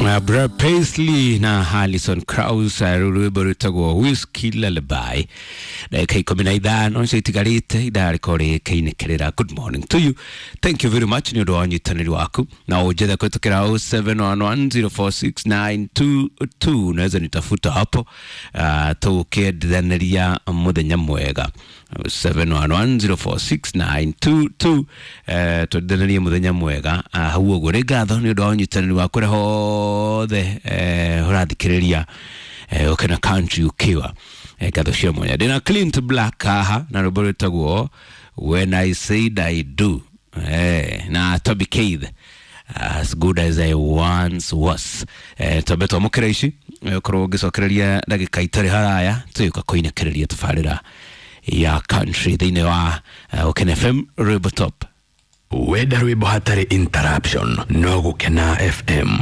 Brad Paisley na Alison Krauss, rwĩmbo rwĩtagwo Whiskey Lullaby. Ndagĩka 15 nicio itigarĩte ithaa rĩkorwo rĩkĩinĩkĩrĩra. Good morning to you, thank you very much nĩ ũndũ wa ũnyitanĩri waku, na ũnjethe kũhĩtũkĩra 0711046922. Naweza nitafuta hapo, tũkĩenderanĩria mũthenya mwega. 0711046922, twenderanĩrie mũthenya mwega. Hau ũguo nĩ ngatho nĩ ũndũ wa ũnyitanĩri waku kũrĩa hothe ũrathikĩrĩria Ũkena Country ukiwa ngatho cia mwanya. Ndĩna Clint Black haha na rwĩmbo rwĩtagwo When I Said I Do, na Toby Keith, As Good As I Once Was. Twambe twamũkĩra ici, ũkorwo ũngĩcokereria ndagĩka itarĩ haraya tũgĩũka kũinĩkĩrĩria tabarĩra ya country thĩinĩ wa Ũkena FM Rwĩmbo Top. Wenda rwĩmbo hatarĩ interruption, no Gũkena FM.